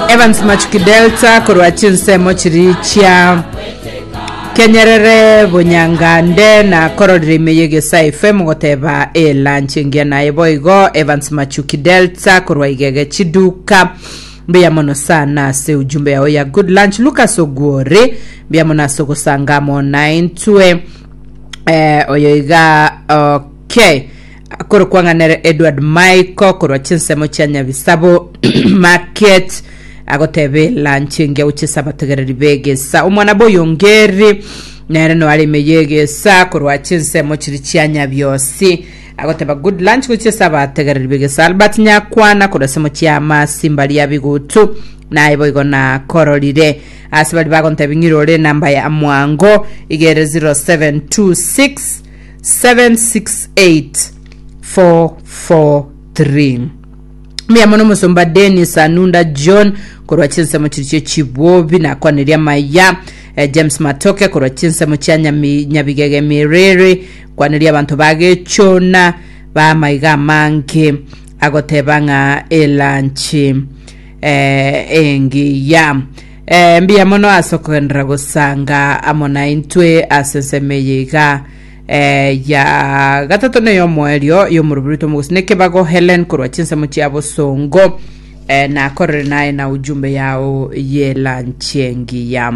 Evans Machuki Delta korwa chinsemo chiri chia Kenyerere Bonyangande na kororire ime y'Egesae FM goteba elunch engiya naye boigo Evans Machuki Delta korwa Igege Chiduka mbuya mono sana ase ujumbe yao ya good lunch Lucas Ogwore mbuya mono ase ogosanga amo naintwe eh, oyo iga okay Akorokwa ng'a nere Edward Michael korwa chinsemo chia Nyabisabo Market agoteba elanchi engiya gochia ase abategereri b'egesa. Omwana bw'Oyongeri nere no are ime y'egesa korwa chinsemo chiri chia Nyabiosi agoteba good lunch gochia ase abategereri b'egesa. Albert Nyakwana korwa ensemo chia Masimba ria Bigutu naye boigo nakororire ase baria bagontebia ng'irore enamba ya mwango igere 0726 768 443 Mbuya mono omosomba Dennis Anunda John korwa chinsemo chiri chie chibobi nakwanirie amaya eh, James Matoke korwa chinsemo chia Nyami- Nyabigege Miriri kwanirie abanto bagechona bamaiga amange agoteba ng'a elanchi eh, engiya eh, mbuya mono ase okogenderera gosanga amo naintwe ase ensemo eye iga Eh, ya gatato neyomoerio y'omorobiri oito omogosi nekebago Helen korwa chinsemo chia bosongo eh, nakorere naye na ujumbe yao yelanchi engiya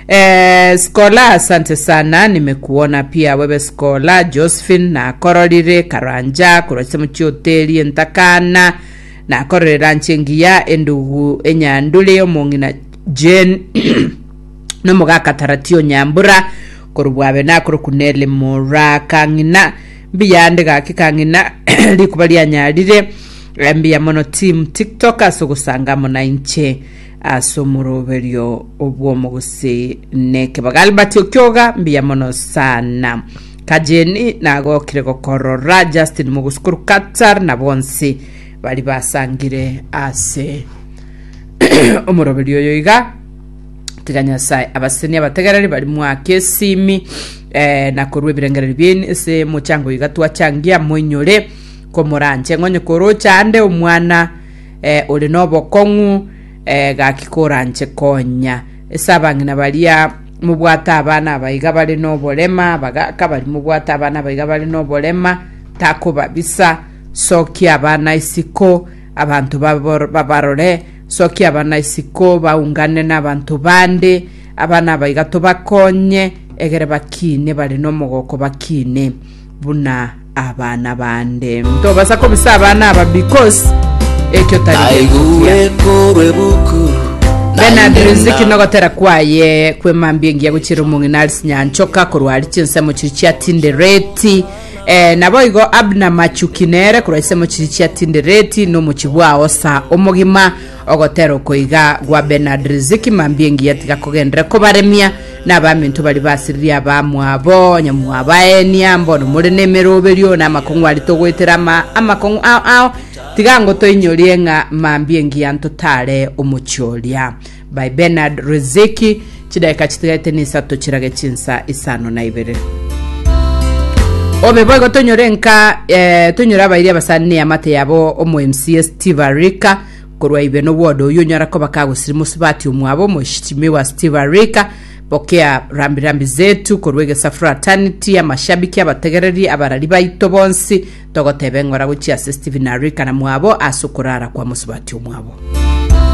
eh, Skola asante sana nimekuona pia wewe Skola Josephine nakororire Karanja korwa chinsemo chia hoteli entakana nakorere lanchi engiya endugu enyandure omong'ina Jane nomogaka Taratio Nyambura korwa bwabe nakorokwa Nelly Mura Kang'ina mbuya ande gaki Kang'ina rikuba rianyarire Eh, mbuya mono team TikTok ase ogosanga amo na inche ase omoroberio obw'omogusii nekebaga Albert Okioga mbuya mono sana Kajeni nagokire gokorora Justin Mogusi korwa Qatar na bonsi bari basangire ase omoroberio oyo iga Tiga Nyasae abasenie abategereri baria mwake esimi eh, na korwa ebirengererio biaino ase mochango iga twachangia moinyore komoranche ng'onye korocha ande omwana eh, ore nobokong'u eh, gaki koranche konya ase abang'ina baria mobwate abana aba iga bare noborema abagaka baria mobwate abana aba iga bare noborema takobabisa sokia abana isiko abanto babor- babarore Sokia abana isiko, baungane nabanto bande, abana aba iga tobakonye, egere bakine bare nomogoko bakine buna abana bande. Ntobasa kobisa abana aba because ekio tari gento kiya. Naigure korwa ebuku Bernard naende Riziki na nogotera kwaye kwemambia engiya gochira omong'ina Alice Nyanchoka korwa aria chinsemo chiri chia Tindereti eh, naboigo Abner Machuki nere korwa chinsemo chiri chia Tindereti nomochi bwao sa omogima ogotera oko iga gwa Bernard Riziki mambia engiya tiga kogenderera kobaremia na abaminto baria basiririe abamwabo onye mwabaenia mbono more nemeroberio na amakong'u aria togoetera ama amakong'u ao ao tiga ngo toinyorie ng'a mambia engiya ntotare omochie oria By Bernard Riziki Chidaeka chitigaete nisato chirage chinsa isano na ibere. Obe boigo tonyore nka eh, tonyore abairi abasani ne amate yabo omo MCA Steve Arika korwa ibe no ward oyo onyara koba kagosiri mosubati omwabo omoshimiwa Steve Arika pokea rambi rambi zetu korwa egesa fraternity amashabiki abategereri abarari baito bonsi togoteba eng'ora gochia ase Stephen Arika na mwabo ase okorara kwa mosubati omwabo.